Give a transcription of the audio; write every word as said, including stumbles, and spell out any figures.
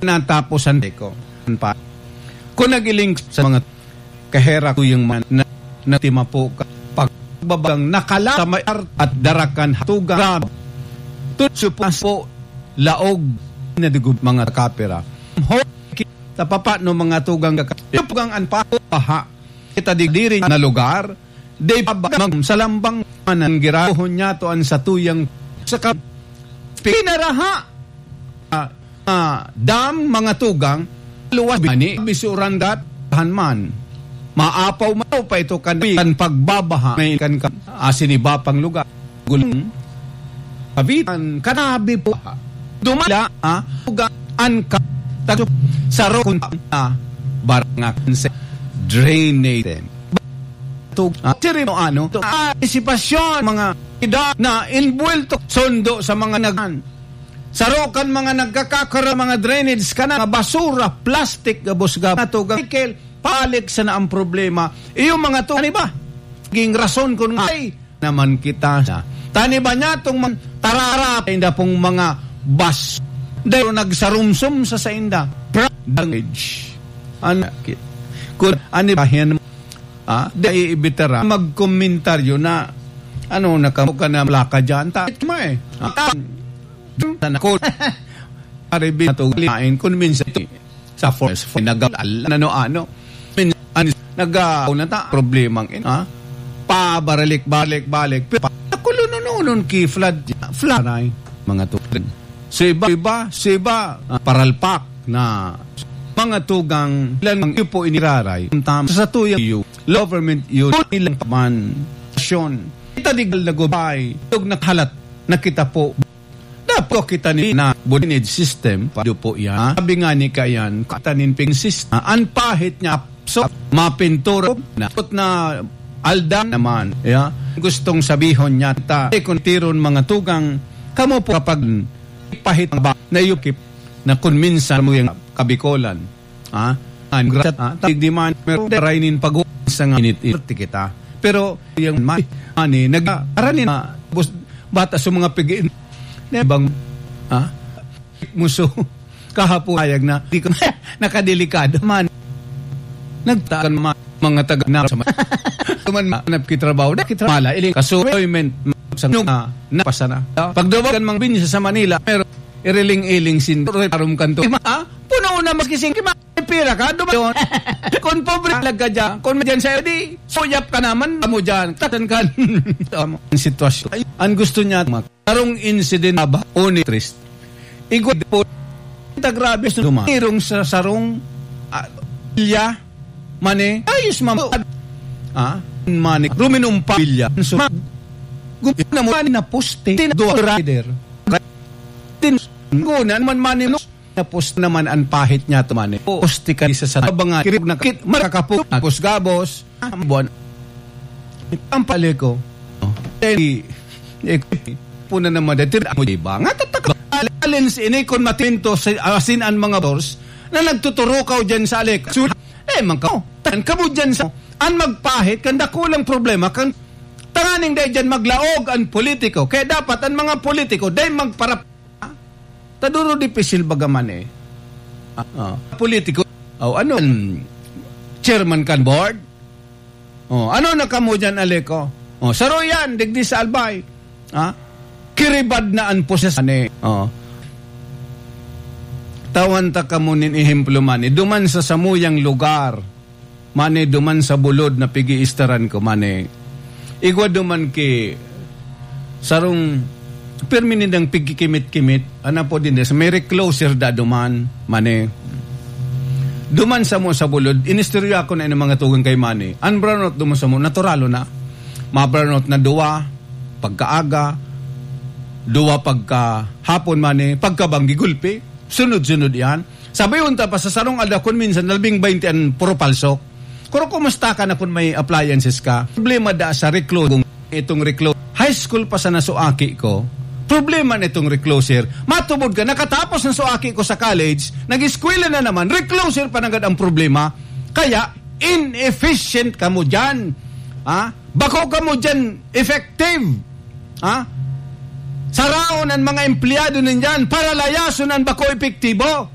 nataposan ko. Pa, kung nagiling sa mga kahera ko yung mga na, na timapo ka, pagbabagang nakala sa may art at darakan hatugan. Tutsupas po, laog, na digub mga kapira. Ho, sa papa no mga tugang ka, yung pugang an pa, baha. Kita di diri na lugar, di pa ba mag-, sa lambang man ang girahohon niya to an satuyang sa ka-, pinaraha. Ah, ah, dam, mga tugang, luwas bani, bisuran dat, han man. Maapaw man pa ito kan, kan pagbabaha, may kan ka, asin iba pang lugar. Gulong, kabitan, kanabi po, dumala, ah, tugang, an ka, tagso, saro, kun, ah, barangak, drainage. Tug-, ah, sirino ano, to, ah, antisipasyon, mga ida na inbuwelto, sondo sa mga nag-, saro kan mga nagkakakara, mga drainage ka na, mga basura, plastic, gabos-gabos, natugang, Michael, palik sana ang problema. Iyo mga to, ano ba? Naging rason kung ay naman kita sa. Tani ba niya itong man, tarara, inda pong mga bas. Dahil nagsarumsum sa sainda. Pra-, damage. Ano, kit-, kung, ano ba yan? Ah, di ibitara, magkomentaryo na, ano, nakamu ka na malaka dyan. Ta-, ma eh. Ah, ta-, sana ko. Pare, binatugaliin, kung minsan ito, sa forest, nag-, ano, ano. Min-, an-, nag-, ah, na ta, problemang in, ha? Pabaralik-balik-balik. Pero pa, nakulo-nonon ki flood, flood ay, mga tugang. So iba, iba, so iba, ah, paralpak na mga tugang, ilan mang iyo po iniraray, tama, sa tuyang iyo, government iyo, ilang paman, pasyon. Kita di galagobay, tug nakahalat, nakita po, dapat kita ni na drainage system, pa po yan. Sabi nga ni Kayan, katanin ping system, an pahit niya, so, mapintura na, na aldan naman, ya. Gustong sabihon niya, ta, eh, kung tiron mga tugang, kamo po kapag pahit ba, na iyukip, na kung minsan mo yung kabikolan, ha? An grasya, ha? Tawag di man, pero daray nin pag-, sa nga init-init kita. Pero yung ma-, ani, nag-, aranin na, bus-, bata sa mga pig-, na ibang, ha? Muso, kahapon, ayag na, di ko, nakadelikado man. Nagtaan ma-, mga taga na sa ma-, tuman ma-, hanap ki trabaho, na ki trabaho, mala, iling, kaso, employment, sa nga, napasa na. Pagdawagan mang binsa sa Manila, pero, iriling-iling sin, arum kanto. Ma-, ha? Puno na maski sing-, ma-, Pira ka, dumayon. Kung pobre ka dyan, kung may dyan sa'yo, di, suyap ka naman, amo dyan, takan ka. Ang sitwasyon. Ay, ang gusto niya, mag-, sarong incident ba, o ni Trist. Igwa po, ta grabe sa duman. Irong sa sarong, ah, pilya, mani, ayos, mama. Ah, mani, ruminumpa, pilya. So, mag-, gum-, na mo, na poste, tin-, dua rider. Tin-, guna naman, mani, Tapos naman an pahit niya tuman eh. Poste ka sa, sa banga, kirib na kit, makakapok, gabos-gabos, ah, buwan. Ang pali ko. Eh, eh, puna naman, dati mo, di ba? Nga, tataka, alin si ini, kung matinto, sa, asin an mga bors, na nagtuturukaw dyan sa alik. So, eh, man ka, tan ka mo dyan sa, an magpahit, kan dakulang problema, kan tanganing dahil dyan maglaog an politiko. Kaya dapat, an mga politiko, dahil magparap, Taduro dipisil baga man eh. Ah, ah. Politiko. O, ano, mm, chairman kan board? O, ano na kamo dyan, Aleco? O, saro yan, digdi sa Albay. Ha? Kiribad na an poses, ani. O. Tawan ta kamo nin ehemplo man eh. Duman sa samuyang lugar. Mani duman sa bulod na pigi-istaran ko, mani. Igwa duman ki sarong pirmi nindang pigkikimit-kimit, ana po din, sa may recloser da duman, mani. Duman sa mo sa bulod, inistorya ko na ng mga tugang kay mani. Ang brownout duman sa mo, naturalo na. Ma-brownout na duwa, pagkaaga, duwa pagkahapon, mani, pagkabanggi gulpi. Sunod-sunod yan. Sabi unta pa sa sarong aldaw, kun minsan, labing baynte an puro palsok. Kuro, kumusta ka na kun may appliances ka? Problema da sa reclo-, kung itong reclo-, high school pa sana so aki ko, problema na itong recloser. Matubod ka, nakatapos na so aki ko sa college, nag-eskwela na naman, recloser pa nanggad ang problema. Kaya, inefficient kamo dyan. Ha? Bako kamo dyan effective. Ha? Saraon ang mga empleyado ninyan para layason ang bako epektibo.